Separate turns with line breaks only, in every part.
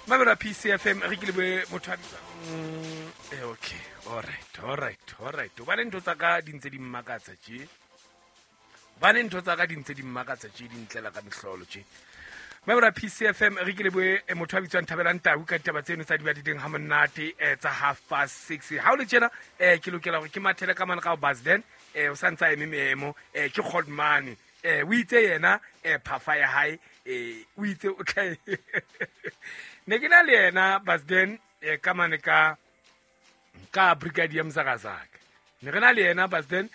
Mamela PCFM re ke leboe motho a bitswang okay, alright, alright, alright. Hobane ntho tsa ka di ntse di mmakatsa tje. Hobane ntho tsa ka di ntse di mmakatsa tje, di ntlela ka mehlolo tje. Mamela PCFM re ke leboe motho a bitswang Thabelang Tau ka ditaba tseno tsa di badileng ha monate tsa 6:30. Ha o le tjena ke lokela hore ke mathele ka mane ka ho Basden, o sa ntse a eme meemo, ke Godmane. O itse yena phafa ya hae, o itse o tla ne ke na le yena Basden ka mane ka Brigadier Mzakazaka. Ne re na le yena Basden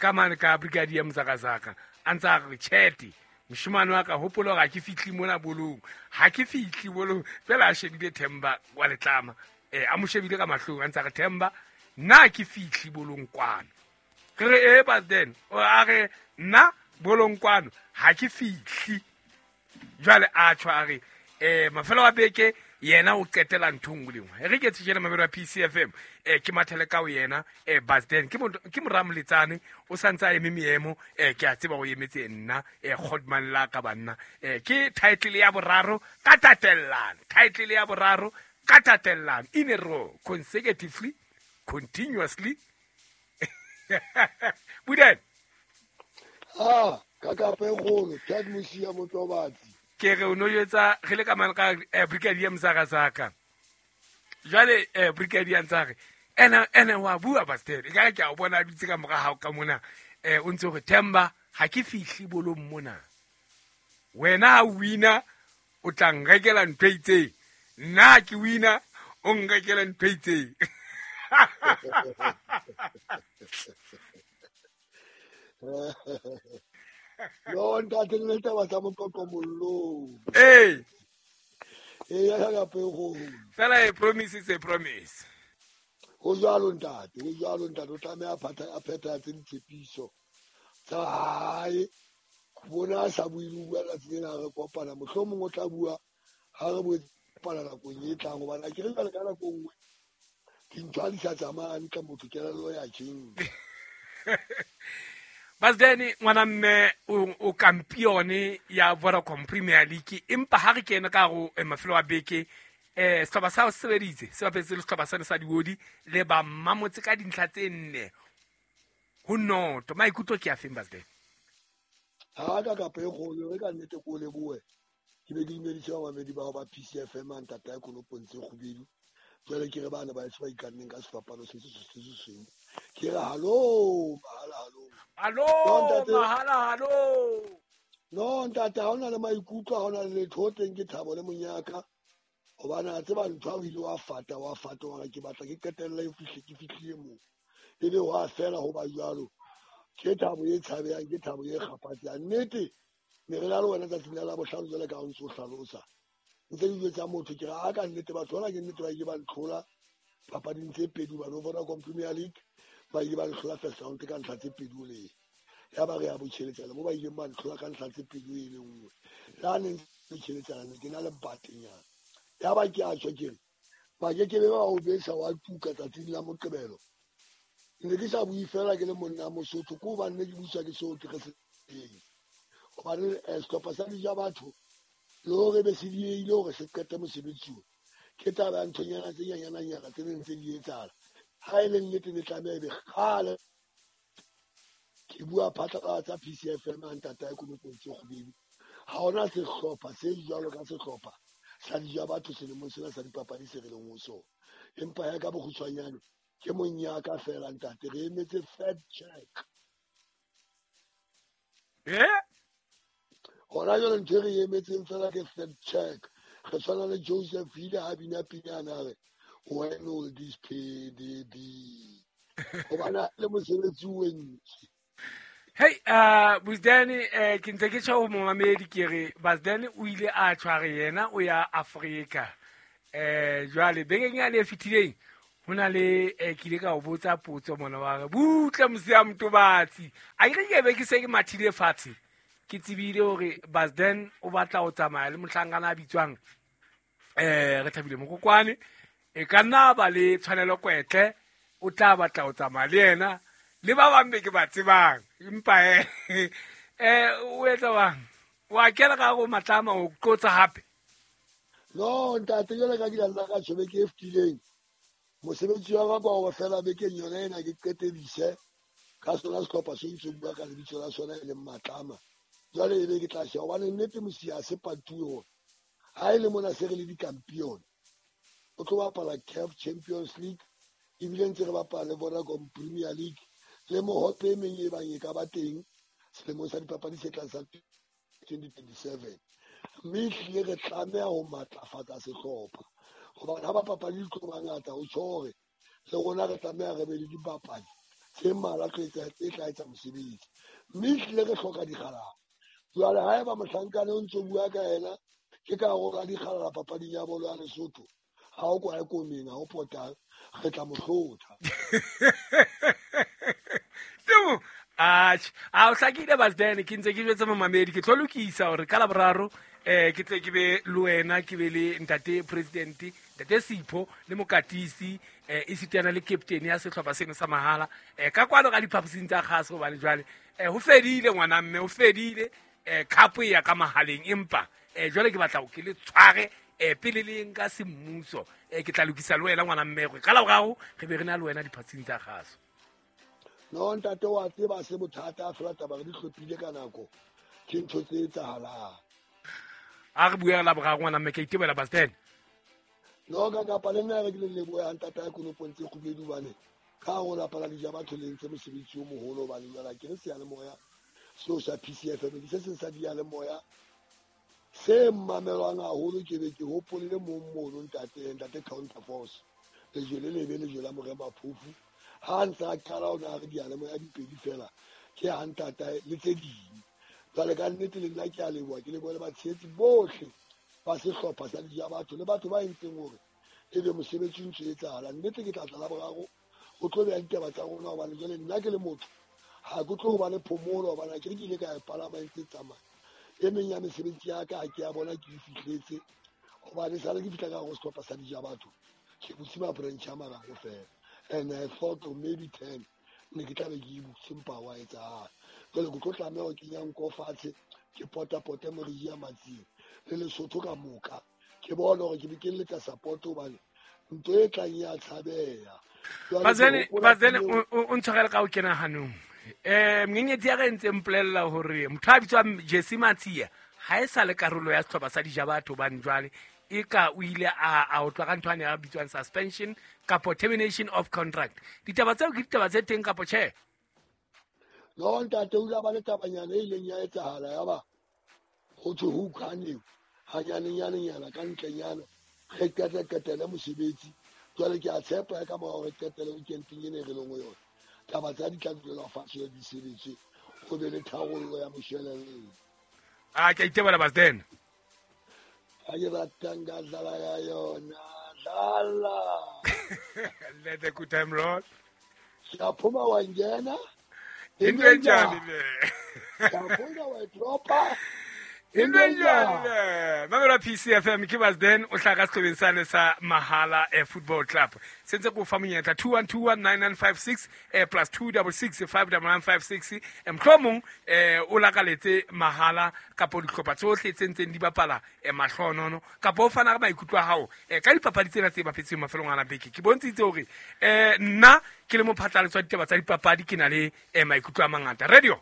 ka mane ka Brigadier Mzakazaka a ntse a re tjhete moshemane wa ka, hopola hore ha ke fihle mona bolong, ha ke fihle bolong. Fela a shebile Themba wa letlama, a mo shebile ka mahlong a ntse a re Themba nna ke fihle bolong kwano. Re re Basden, a re nna bolong kwano ha ke fihle. Jwale a tjho a re mafelo a beke yena o qetela ntho nngwe le nngwe. Re ke tshejele mamelo ya PCFM, ke mathele ka ho yena Basden ke mora Moletsane, o sa ntse a eme meemo, ke a tseba o emetse nna Godman la ka banna. Ke title ya boraro ka tatellano, title ya boraro ka tatellano in a row, consecutively, continuously. Buden.
Ah, ka kape kgolo, Ted Mosia Motobatsi.
Ke re o no jwetsa re le ka mane ka Brigadier Mzakazaka. Jwale Brigadier ntsa re ene wa bua Basden, e ka re ke a o bona a dutse ka mora hao ka mona, o ntse hore Themba ha ke fihle bolong mona. Wena ha o wina o tla nrekela ntho e itseng, nna ke wina o nrekela ntho e itseng.
No ntate le taba tsa moqoqo mollong.
Ee.
Ee, ya ka pego.
Fela a promise is a promise.
Ho jwalo ntate, ho jwalo ntate, o tlameha a phethahatse ditshepiso tsa hae. Bona a sa bue le ho bua letsatsi lena re kopana, mohlomong o tla bua ha re boetse kopana nakong e tlang, hobane ha ke re jwale ka nako e nngwe dintho ha di sa tsamaya hantle, motho kelello ya tjhentjha.
Basden ngwana mme o kampione ya Vodacom Premier League, empa ha re kene ka ho mafelo a beke, sehlopha sa se sebeditse se bapetse le sehlopha sane sa Diodi le ba Mmamotse ka dintlha tse 4-0. Maikutlo ke a feng Basden?
Ha ka kapa e kgolo re ka nnete ko leboe. Ke be ke dumedise bamamedi bao ba PCFM a ntata ya Konopong tse kgubedu. Jwale ke re bana ba eso ba ikanneng ka sefapano se se se se seng. Ke re hallo, mahala hallo.
Hallo, mahala hallo.
No ntate, ha hona le maikutlo, ha hona le letho teng, ke thabo le monyaka. Hobane a tseba ntho ha o ile wa fata, wa fata, wa re ke batla ke qetelle e fihle, ke fihlile moo. Ebe wa fela ho ba jwalo. Ke thabo e tshabehang, ke thabo e kgaphatsehang. Nnete, ne re na le wena tsatsing la bohlano jwale ka ha o ntso o hlalosa. Ntse ke jwetsa motho ke re a ka nnete batho bana ke nnete ba ile ba ntlhola papading tse pedi hobane Vodacom Premier League ba ile ba ntlhola first round ka ntlha tse pedi o le. Ya ba re ya botjheletsana mo ba ileng ba ntlhola ka ntlha tse pedi e le nngwe. Le ha ne ntse tjheletsana ne ke na le batenyana. Ya ba ke a tjho ke re ba ke ke be ba o besa wa tuka tsatsing la Moqebelo. Ne ke sa bue fela ke le monna Mosotho, ke hobane ne ke buswa ke seo ke re se teng. Hobane sehlopha sa Dija Batho le hore be se diehile hore se qete mosebetsi o. Ke taba ya nthonyana tse nyanyananyana tse neng tse di etsahala. Ha e le nnete ne tlameha ebe kgale. Ke bua phatlalatsa PCFM a ntata ya Konopong tse kgubedu. Ha hona sehlopha se jwalo ka sehlopha sa Dija Batho selemong sena sa dipapadi se re leng ho sona. Empa ya ka bokgutshwanyane ke monyaka fela ntate, re emetse fact check. Hona jwale ntho e re emetseng fela ke fact check. Re tshwana le Joseph ile ha bina pinyana re when will this payday be? Hobane le mosebetsi o entse.
Hey, Busdane, ke ntse ke tjho ho momamedi ke re Busdane o ile a tshware yena o ya Afrika. Jwale bekeng yane e fetileng ho na le ke ile ka o botsa potso mona wa re butle Mosia Motobatsi. A ke re ke be ke se ke mathile fatshe. Ke tsebile hore Busdane o batla ho tsamaya le mohlankana a bitswang re Thabile Mokokwane. E ka nna ba le tshwanelo kwetle o tla batla ho tsamaya le yena le ba bang be ke ba tsebang. Empa o etsa bang? Wa kena ka go matlama o qotsa hape?
No ntate, jwale ka ke la nna ka tjho beke e fetileng, mosebetsi wa ka kwa ho fela bekeng yona ena ke qetedise ka sona sehlopha se ntse bua ka lebitso la sona e leng Matlama. Jwale ebe ke tla sheba hobane nnete mosia se patuwe hore ha e le mona se re le dikampione, o tlo bapala CAF Champions League, ebile ntse re bapala le Vodacom Premier League le mohope e meng e bang e ka ba teng selemong sa dipapadi se tlang sa 2027. Mme ehlile re tlameha ho matlafatsa sehlopha hobane ha bapapadi di tlo ba ngata, ho tjho hore le rona re tlameha re be le dibapadi tse mmalwa tse tla etsa mosebetsi. Mme ehlile re hloka dikgalala. Jwale haeba mohlankana o ntso bua ka yena, ke ka hore a dikgalala papading ya bolo ya Lesotho, ha o kwae komeng, ha o potang, re tla mo hlotha.
Temo, atjhe, a o hlakile Basden, ke ntse ke jwetse momamedi, ke tlo lokisa hore ka Laboraro ke tle ke be le wena, ke be le ntate president, ntate Sipho le mokatisi, esitana le captain ya sehlopha seno sa mahala, ka kwano ka diphaposing tsa kgaso, hobane jwale ho fedile ngwana mme, ho fedile, cup e ya ka mahaleng, empa jwale ke batla ho ke le tshware pele le nka semmuso, ke tla lokisa le wena ngwana mme hore ka Laboraro re be re na le wena diphaposing tsa kgaso.
No ntate, wa tseba se bothata fela taba re di hlophile ka nako, ke ntho tse etsahalang.
A re bue Laboraro ngwana mme, ke a itebela Basden.
No ka kapa le nna re ke le leboha ntate ya konopong tse kgubedu, hobane ka hare ho lapa la dija batho le entse mosebetsi o moholo, hobane jwale ke re seyalemoya seo sa PCFM ke se seng sa diyalemoya se mamelwang haholo. Ke be ke hopole le mong mono ntate, ntate Counterforce, lejwe le lebe, lejwe la Morema Phofu, ha ntse a qala o ne a re diyalemoya di pedi fela, ke ha ntatae le tse ding. Jwale ka nnete le nna ke a leboha, ke lebohe le batshehetsi bohle ba sehlopha sa dija batho le batho ba entseng hore ebe mosebetsi o ntso etsahala. Nnete ke tla tla Laboraro o tlo beha ditaba tsa rona, hobane jwale nna ke le motho ha ke tlo ba le phomolo, hobane ha ke re ke ile ka e palama e ntse e tsamaya. E meng ya mesebetsi ya ka ha ke a bona ke e fihletse, hobane sale ke fihla ka hare ho sehlopha sa dija batho, ke butse ma-branch a mararo fela, and I thought maybe 10 ne ke tla be ke e butse, empa wa etsahala. Jwale ke tlo tlameha ho kenya nko fatshe, ke potapote moriji ya Matsing le Lesotho ka moka, ke bone hore ke be ke letsa support, hobane ntho e tlang ya tshabeha.
Bazene, Bazene, o ntshwarele ka ho kena hanong. Menyenyetsi ya re ntse mpolella hore motho a bitswang Jesse Matsia ha e sa le karolo ya sehlopha sa dija batho, hobane jwale e ka o ile a otlwa ka ntho ane a bitswang suspension kapo termination of contract. Ditaba tseo ke ditaba tse teng kapo tjhe?
No ntate, o ile a ba le tabanyana e ileng ya etsahala, ya ba ho thwe ho utlwaneng hanyanenyana ka ntlenyana, re qete-qetele mosebetsi. Jwale ke a tshepa ka mora hore qetele weekendeng ena e re leng ho yona, taba tsa di tla dulelwa fatshe di sebetse, ho be le tharollo ya mosheleleng.
A ke a itebola Basden.
Ha ke ratang ka dlala ya yona, dlala.
Let the good time roll.
Siyaphuma wa ngena.
Into enjani le?
Siyaphuma wa dropa.
Into enjani le? Mamela PCFM ke Basden o hlaka sehlobeng sane sa Mahala Football Club. Sentse ko fa monyetla 21219956 plus 266 59956. Mohlomong o lakaletse Mahala kapo dihlopha tsohle tse ntseng di bapala mahlonono, kapo o fana ka maikutlo a hao ka dipapadi tsena tse bapetseng mafelong ana beke. Ke bontshitse hore nna ke le mophatlalatsi wa ditaba tsa dipapadi ke na le maikutlo a mangata. Radio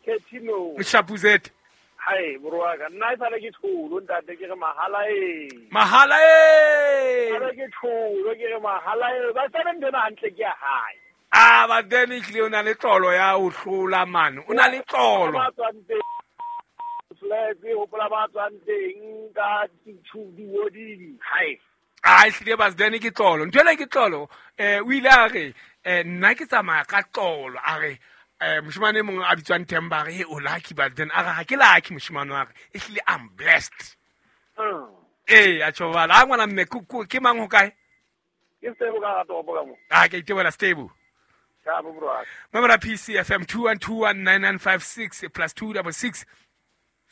Ketino.
Mshapuzet.
Hai, morwaka. Nna e sale ke tholo ntate, ke re mahala e.
Mahala e.
Sale ke tholo, ke re mahala e. Ba sale ntho ena hantle ke ya hae.
Ah, ba then ehlile o na le tlolo ya ho hlola mane. O na le tlolo.
Ba tswang teng. Flags, hopola ba tswang teng ka diwoding. Hai.
Ah, ehlile ba then ke tlolo. Ntho ena ke tlolo. O ile a re, nna ke tsamaya ka tlolo. A re, moshemane e mong a bitswang Themba, a re, hey, o lucky, but then a re, ha ke lucky moshemane wa re, ehlile I'm blessed. A tjho jwalo. Ha ngwana mme, ke mang ho kae?
Ke Stable ka hara toropo ka mo.
Ah, ke itebohela Stable.
Ka bo bro.
Mamela PCFM 21219956 plus 266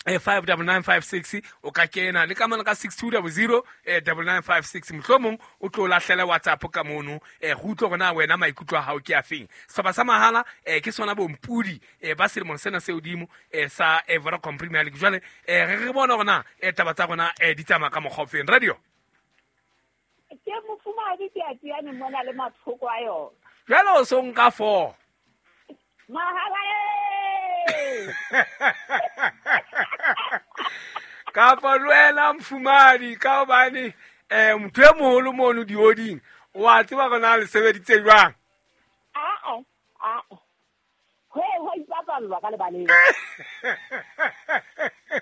59956 o ka kena le ka mona ka 6200 9956 mohlomong o tlo lahlela WhatsApp ka mono go utlwe gore na wena maikutlo a gago ke a feng. Sehlopha sa mahala ke sona bompudi ba selemong sena se hodimo sa Vodacom Premier League. Jwale re bona gore na taba tsa rona di tsamaya ka mokgwa o feng. Radio
ke mofumahadi ke a tiane mona le mathoko a yona.
Jwale o so nka 4
mahala
kapa le wena mofumahadi ka hobane motho e moholo mono dioding o a tseba gore na le sebeditse jwang.
Aa ho ipapallwa ka lebaleng.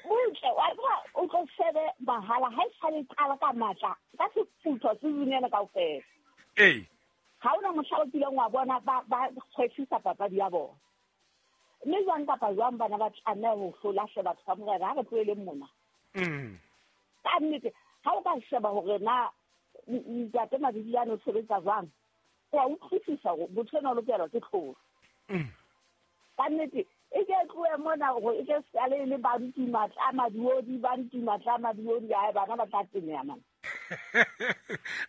Butle wa tseba o tlo shebe mahala ha e sale qala ka matla ka sefutho season ena kaofela.
Ee,
ha ona mohla o kileng wa bona ba kgwefisa papadi ya bona. Mme jwang kapa jwang bana ba tlameha ho hlola hle batho ba morena ha re tloheleng mona. Ka nnete ha o ka sheba hore na ntate Mabidiyane o sebetsa jwang, o a utlwisisa hore motho enwa o lokelwa ke tlholo. Ka nnete e ke tlohe mona hore e ke sale le ba ntimatla madiodi ba ntimatla madiodi ae bana ba tla teneha mana.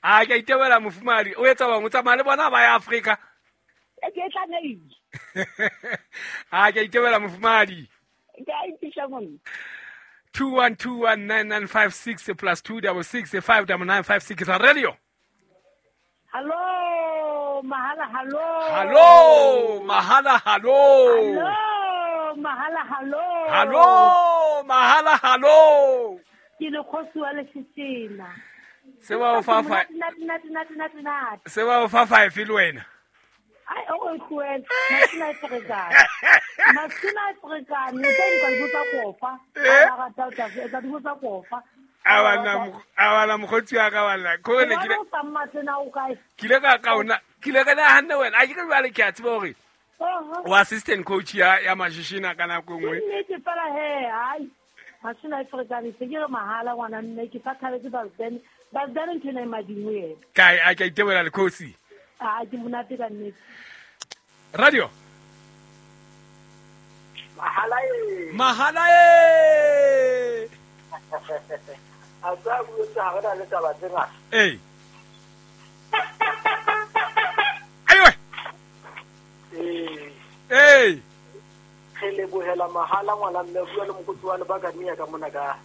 A ke a itebela mofumahadi o etsa bang o tsamaya le bona ba ya Afrika.
E ke tlamehile.
A ke a itebela mofumahadi.
Ke a ipihla monna.
21219956 plus 266 59956 radio.
Hello mahala hello.
Hello mahala hello.
Hello mahala hello.
Hello mahala hello.
Ke le kgosi wa Lesesena.
Se ba o fa fa. Se ba o fa 5 le wena.
Ai o tlohele masina a ferekane. Masina a ferekane o tla nka dibotsa kofa. A rata o tla etsa dibotsa kofa.
A bana mokgotsi wa ka bana ko ne ke
o sa mmatlena o kae?
Ke ile ka kaona ke ile ka nahanne wena a ke re jwale ke a tseba hore o assistant coach ya Mashishina ka nako e nngwe.
Nnete fela he ai masina a ferekane se ke re mahala ngwana mme ke sa thabetse Balden. Balden ntho ena e madimo yena.
Kae a ke a itebela lekgosi.
A ke monate ka nnete.
Radio.
Mahala e.
Mahala e.
A tsa botsa ha re na le taba tse ngata.
Ee. Aiwe.
Ee.
Ee.
Re lebohela mahala ngwana mme bua le mokotsi wa lebakania ka mona ka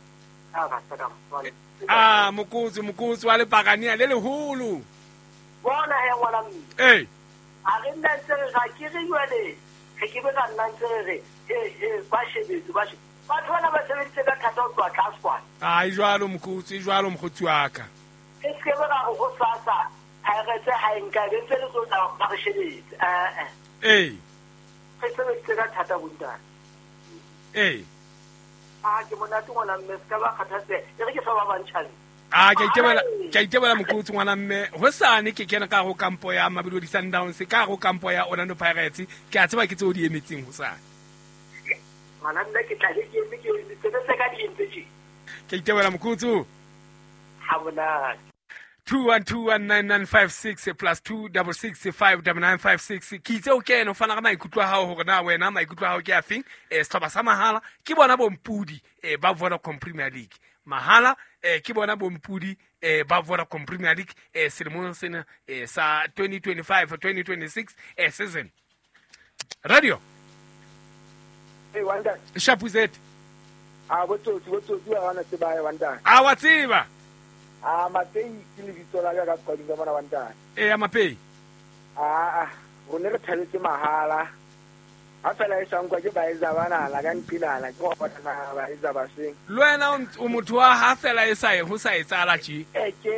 a rata ka mona.
Ah mokotsi wa lebakania le leholo.
Bona he ngwana mme.
Ee.
A re nna ntse re ga ke re jwale re ke be ka nna ntse re re he ba shebetse ba shebetse. Batho bana ba sebeditse ka thata ho tloha tlase kwana.
A e jwalo mokotsi, e jwalo mokgotsi wa ka.
E se ke be ra re ho sasa Pirates ha e nka be ntse le tlo tla ba re shebetse.
Ee.
Re sebeditse ka thata bontate.
Ee.
A ke monate ngwana mme se ka ba kgathatseha. E re ke fa ba bang chance.
A ke itebela mokotsi ngwana mme hosane ke kena ka go kampo ya Mamelodi Sundowns ka go kampo ya Orlando Pirates ke a tseba ke tseo di emetseng hosane.
Ngwana mme ke tla be ke eme ke emetse se ka di entse tje.
Ke itebela mokotsi.
Ha monate.
21219956 plus 266 59956 ke itse o kene o fana ka maikutlo a hao hore na wena maikutlo a hao ke a feng. Sehlopha sa mahala ke bona bompudi ba Vodacom Premier League. Mahala ke bona bompudi ba Vodacom Premier League selemong sena sa 2025-2026 season. Radio.
Hey Wanda.
Shapuzet.
A botsotsi ba bana tseba ya Wanda.
A wa tseba.
A Mapei ke lebitso la ka ka qading ka mona Wanda.
E ya Mapei.
A rone re thabetse mahala. Ha fela e sankwa ke baetsa bana la ka nqilana ke go bona ba etsa ba seng.
Le wena o motho wa ha fela e sa e ho sa etsala tje.
E ke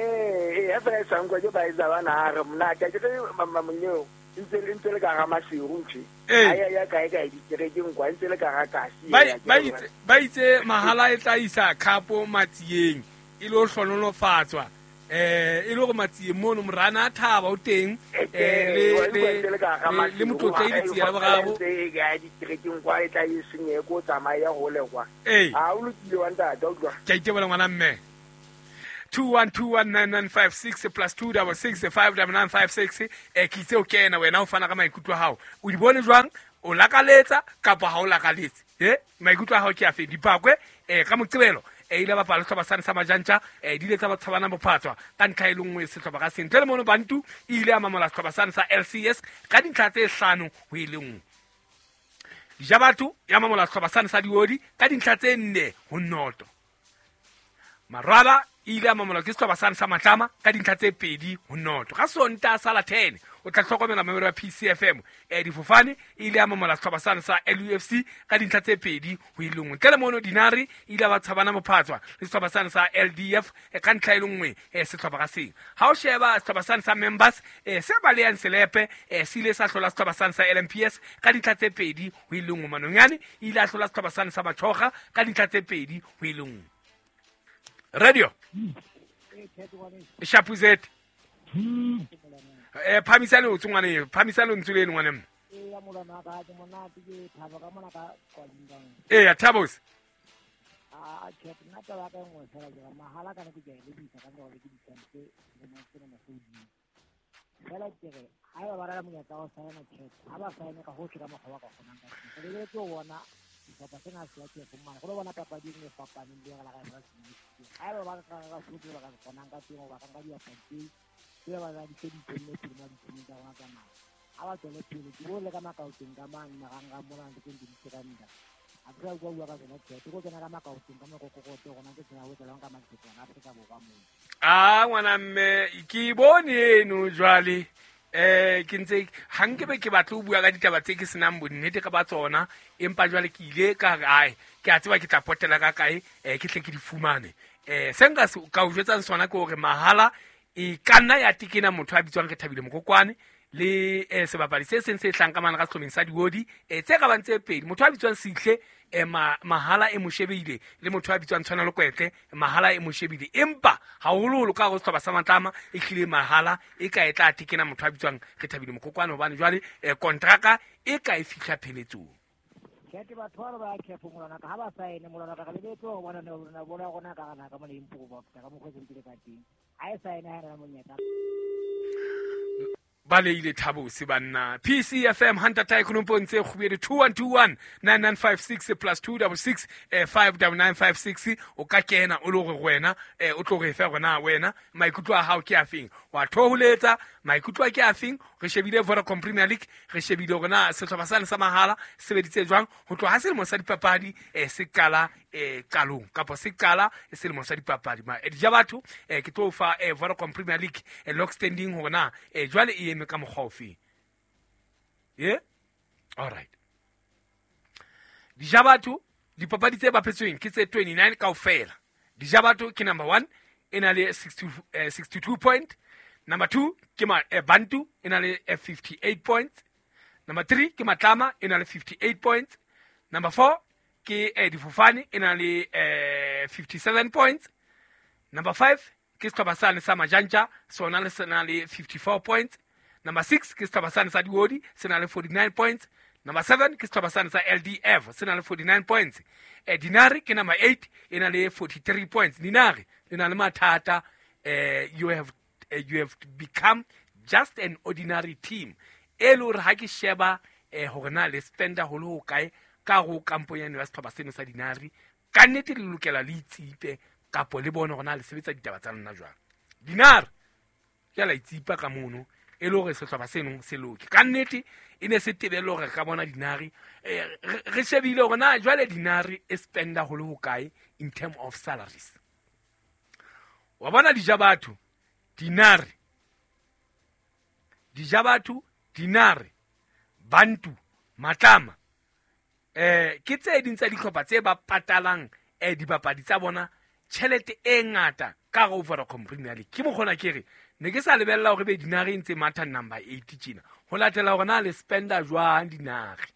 ha fela e sankwa ke baetsa bana re mna ke ke mamonyeo ntse le ka ga maseru ntse. Ai ya kae kae dikerekeng kwa ntse le ka ga kasi.
Ba itse mahala e tla isa khapo matsieng e lo hlonolofatswa e le hore matsieng mono morana a thaba o teng le motlotla e ditsia la boraro
ya dikerekeng kwa e tla e senye ko tsamaya hole kwa. A o lokile wa ntate o utlwa.
Ke a itebela ngwana mme. 21219956 plus 266 59956 ke itse o kena wena o fana ka maikutlo a hao. O di bone jwang? O lakaletsa kapa ha o lakaletse? Maikutlo a hao ke afe? Dipakwe ka Moqebelo ile bapala sehlopha sane sa Majantja, di ile tsa ba tshabana bophatswa ka ntlha e le nngwe sehlopha ka seng. Ntle le mono Bantu e ile ya mamola sehlopha sane sa LCS ka dintlha tse 5-1. Dijabatho ya mamola sehlopha sane sa Diodi ka dintlha tse 4-0. Marwala e ile ya mamola ke sehlopha sane sa Matlama ka dintlha tse 2-0. Ka Sontaha sa la 10 o tla hlokomela mamelo ya PCFM. Difofane e ile ya mamola sehlopha sane sa LUFC ka dintlha tse 2-1. Ntle le mono Dinare e ile ba tshabana mophatswa le sehlopha sane sa LDF ka ntlha e le nngwe sehlopha ka seng. Ha o sheba sehlopha sane sa Members se balehang selepe se ile sa hlola sehlopha sane sa LMPS ka dintlha tse 2-1. Manonyane e ile a hlola sehlopha sane sa Bathoga ka dintlha tse 2-1. Radio Shapuzet phamisane o tsongwane phamisane o ntse le ngwane mme ya Thabos
a check nna taba ka nngwe fela ke mahala kana ke le bisa ka ngore ke ditsampe le matsena masodi fela ke re ha ba bara monyetla wa saena check ha ba saene ka hohle ka mokgwa wa ka kgonang ka teng le tlo bona sehlopha sena se ya ke fumana go lo bona papadi e fapaneng le la ga ba se ha ba ba ka ka sohle ba ka kgonang ka teng ba ka nka diapadi tse ba ba di tse di tsene pele mo ditshimeng tsa rona tsa naha ha ba tswele pele ke bone ka makaoteng ka mang marangrang mona ntse ke di ranta a ke bua bua ka tsona tjhe ke kena ka makaoteng ka mokokokoto rona ke tsena ho tswelang ka makgetho a Afrika Borwa moo.
A ngwana mme ke bone eno jwale ke ntse ha nke be ke batla ho bua ka ditaba tse ke senang bonnete ka ba tsona, empa jwale ke ile ka re ai ke a tseba ke tla potela ka kae ke tle ke di fumane. Se nka ka o jwetsang sona ke hore mahala e ka nna ya tekena motho a bitswang Rethabile Mokokwane le sebapadi se seng se hlang ka mana ka sehlomeng sa Diodi tse ka bang tse pedi, motho a bitswang Sihle mahala e mo shebile le motho a bitswang Tshwanelo Kwetle mahala e mo shebile, empa haholoholo ka hore sehlopha sa Matlama e hlile mahala e ka e tla tekena motho a bitswang Rethabile Mokokwane hobane jwale kontraka e ka e fihla pheletsong.
Ke batho ba ba khefo molwana ka ha ba saene molwana ka lebetse ho bona ne bona rona ka rana ka mona improve ka mokgwa se ntile ka teng ha e saene ha rena monyetla
ba leile Thabose banna. PCFM Hunter Tycoon Mpontse Kgubedi 2121 9956 plus 266 59956 o ka kena o le hore wena o tlo re fe rona wena maikutlo a hao ke a feng, wa thoholetsa maikutlo a ke a feng. Re shebile Vodacom Premier League, re shebile hore na sehlopha sane sa mahala sebeditse jwang ho tloha ha selemo sa dipapadi se qala qalong kapa se qala selemo sa dipapadi. Dijabatho ke tlo fa Vodacom Premier League lock standing hore na jwale e eme ka mokgwa ofe. All right. Dijabatho dipapadi tse bapetsweng ke tse 29 kaofela. Dijabatho ke number 1 e na le 62 point. Number 2 ke Bantu e na le 58 points. Number 3 ke Matlama e na le 58 points. Number 4 ke Difofane e na le 57 points. Number 5 ke sehlopha sane sa Majantja sona le sena le 54 points. Number 6 ke sehlopha sane sa Diodi se na le 49 points. Number 7 ke sehlopha sane sa LDF se na le 49 points. Dinare ke number 8 e na le 43 points. Dinare le na le mathata. You have become just an ordinary team. E le hore ha ke sheba hore na le spenda ho le ho kae ka ho kampo ya sehlopha seno sa Dinare, ka nnete le lokela le itsipe kapo le bone hore na le sebetsa ditaba tsa lona jwang. Dinare ke la itsipa ka mono e le hore sehlopha seno se loke. Ka nnete e ne se tebelo hore ka bona Dinare re shebile hore na jwale Dinare e spenda ho le ho kae in term of salaries. Wa bona Dijabatho Dinare, Dijabatho Dinare, Bantu, Matlama ke tse ding tsa dihlopha tse ba patalang dibapadi tsa bona tjhelete e ngata ka go Vodacom Premier League. Ke mokgona ke re ne ke sa lebella hore be Dinare ntse matha number 8 tjena ho latela hore na le spenda jwang Dinare.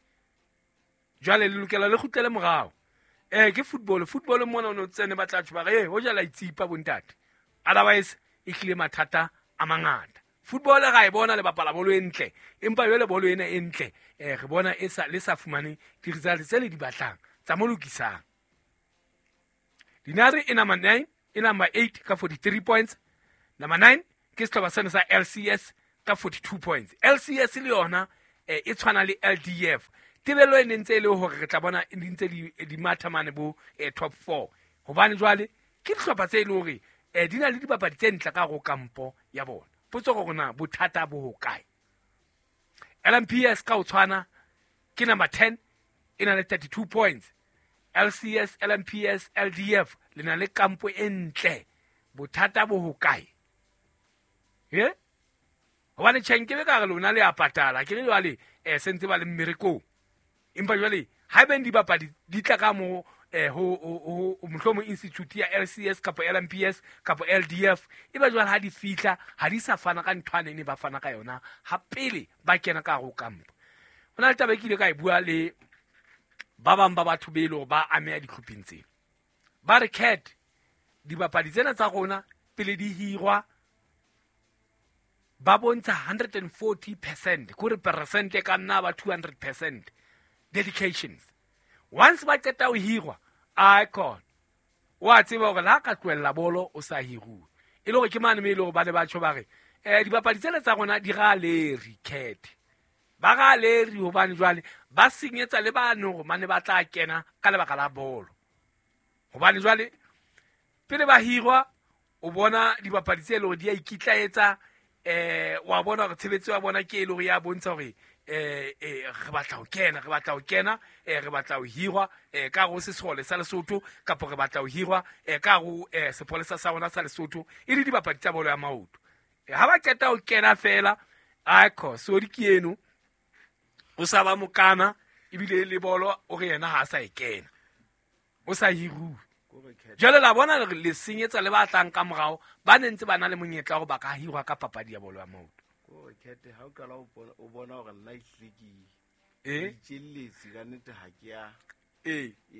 Jwale le lokela le kgutlele morao. Ke football mona o no tsene ba tla tjho ba re ho jala itsipa bontate, otherwise e hlile mathata a mangata. Football ga e bona le bapala bolo e ntle, empa jwale bolo ena e ntle re bona e sa le sa fumane di-results tse le di batlang tsa mo lokisang. Dinare e number 9 e number 8 ka 43 points. Number 9 ke sehlopha sena sa LCS ka 42 points. LCS le yona e tshwana le LDF Tebello e ne ntse e le hore re tla bona di ntse di matha mane bo top 4. Hobane jwale ke dihlopha tse e le hore di na le dipapadi tse ntle ka go kampo ya bona. Potso go rona bothata bo hokae? LMPS ka o tshwana ke number 10 e na le 32 points. LCS, LMPS, LDF le na le kampo e ntle. Bothata bo hokae? Hobane tjhe be ka re lona le a patala ke re jwale sentse ba le mmerekong. Empa jwale ha beng dibapadi di tla ka mo ho mohlomong institute ya LCS kapa LMPS kapa LDF e ba jwale ha di fihla ha di sa fana ka nthwane ne ba fana ka yona ha pele ba kena ka go kampo. Hona le taba e ke ile ka e bua le ba bang ba batho be le ba ameha ditlhopheng tsena. Ba re cat dibapadi tsena tsa rona pele di hirwa ba bontsha 140% kore percent ka nna ba 200% dedications. Once ba qeta ho hirwa icon wa tseba hore la ka tlohella bolo o sa hiruwe e le hore ke mane me e le hore ba ne ba tjho ba re dibapadi tsena tsa rona di ra leri cat ba ra leri hobane jwale ba senyetsa le bano hore mane ba tla kena ka lebaka la bolo. Hobane jwale pele ba hirwa o bona dibapadi tse le hore di a ikitlaetsa wa bona hore tshebetso ya bona ke e le hore ya bontsha hore re batla ho kena re batla ho kena re batla ho hirwa ka go sesole sa Lesotho kapa re batla ho hirwa ka go sepolesa sa rona sa Lesotho e le dibapadi tsa bolo ya maoto. Ha ba qeta ho kena fela aiko sodi ke eno o sa ba mokana ebile le bolo o re yena ha a sa e kena o sa hiruwe. Jwale la bona le senyetsa le ba tlang ka morao ba ne ntse ba na le monyetla hore ba ka hirwa ka papadi ya bolo ya maoto.
Kete ha o qala o bona hore nna ehlile ke itjelletse ka nnete ha ke ya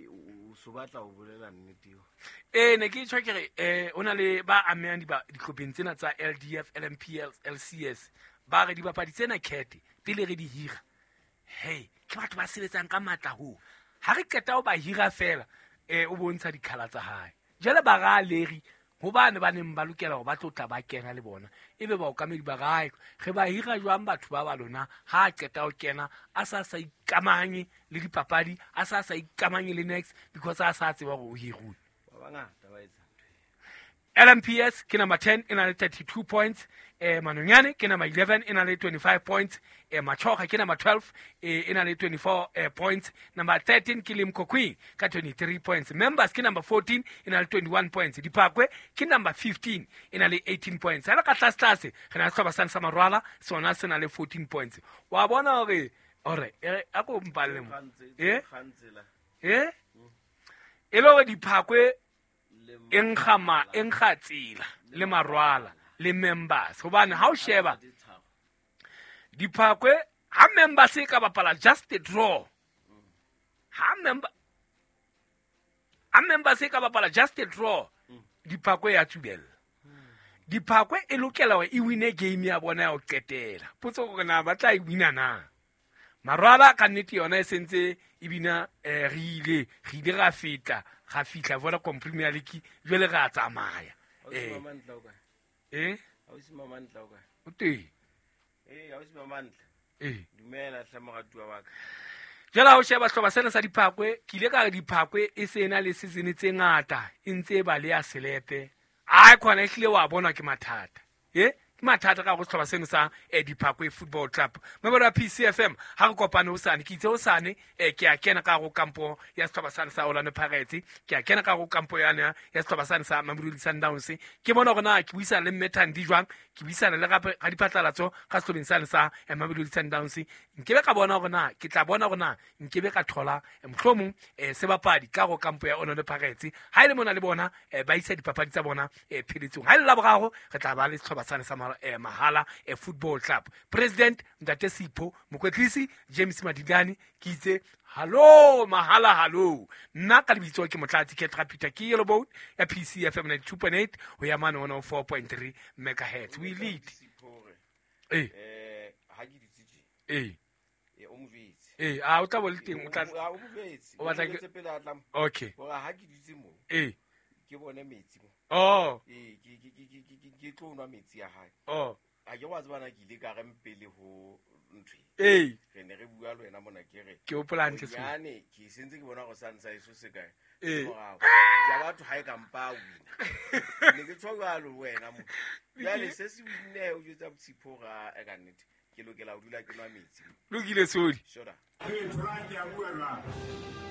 o so batla ho bolela nnete eo.
Ne ke tjho ke re o na le ba amehang dihlopheng tsena tsa LDF, LMPL, LCS ba re dibapadi tsena kete pele re di hira. Hey, ke batho ba sebetsang ka matla ho. Ha re qeta ho ba hira fela o bontsha dikhala tsa hae. Jwale ba ra leri hobane ba neng ba lokela hore ba tlo tla ba kena le bona ebe baokamedi ba rae re ba hira jwang batho ba ba lona ha a qeta ho kena a sa sa ikamanye le dipapadi a sa sa ikamanye le next because a sa tseba hore o hiruwe.
Ba bangata ba etsa ntho.
LMPS ke number 10 e na le 32 points. Manonyane ke number 11 e na le 25 points. Machoga ke number 12 e na le 24 points. Number 13 ke Limkokwing ka 23 points. Members ke number 14 e na le 21 points. Diphakwe ke number 15 e na le 18 points. Ha le ka tlase tlase re na le sehlopha sane sa Marwala sona se na le 14 points. Wa bona hore ore a ko mpalle mo. E le hore Diphakwe e nkga tsela le Marwala le members hobane ha o sheba Diphakwe ha members e ka bapala just a draw ha members e ka bapala just a draw Diphakwe ya tsubella. Diphakwe e lokela hore e wine game ya bona ya ho qetela. Potso hore na ba tla e wina na. Marwala ka nnete yona e sentse e bina re ile ra feta ga fihla Vodacom Premier League jwale re a tsamaya. O teng.
Dumela hle moratuwa wa ka.
Jwale ha o sheba sehlopha sena sa Diphakwe ke ile ka re Diphakwe e se na le season tse ngata e ntse e ba le ya selepe. Ai khona ehlile wa bona ke mathata. Ke mathata ka go sehlopha seno sa Diphakwe Football Club. Mebolo ya PCFM ha re kopane hosane ke itse hosane ke a kena ka go kampo ya sehlopha sane sa Orlando Pirates ke a kena ka go kampo yana ya sehlopha sane sa Mamelodi Sundowns ke bona hore na ke buisana le Mme Thandi jwang ke buisana le gape ga diphatlalatso ka sehlopheng sane sa Mamelodi Sundowns nkebe ka bona hore na ke tla bona hore na nkebe ka thola mohlomong sebapadi ka go kampo ya Orlando Pirates ha ile mona le bona ba isa dipapadi tsa bona pheletsong ha ile la boraro re tla ba le sehlopha sane sa Mahala Football Club. President Ntate Sipho Mokwetlisi James Madidani ke itse hallo Mahala hallo nna ka lebitso ke Motlatsi Ketra Peter ke Yellow Boat ya PCFM 92.8 ho ya mane 104.3 megahertz. We lead.
Ha ke ditse tje. O mojwetse.
A o tla bo le teng o tla
o mojwetse.
O batla ke
pele a tla.
Okay.
Hore ha ke ditse mo. Ke bone metsi mo.
Oh.
Ke tlo nwa metsi ya hae.
Oh.
A ke wa tsebana ke ile ka re mpele ho ntho
Ee.
Re ne re bua le wena mona ke re.
Ke hopola hantle seo.
Bonyane ke sentse ke bona gore sane sa eso se kae.
Ee.
Morao. Ja batho ha e ka mpa a wina. Ne ke tjho jwalo ho wena mo. Jwale se se winne o jwetsa Tshipho hore a e ka nnete ke lokela ho dula ke nwa metsi.
Lokile Sodi.
Shoda.
Ee, tholang ke a bua jwale.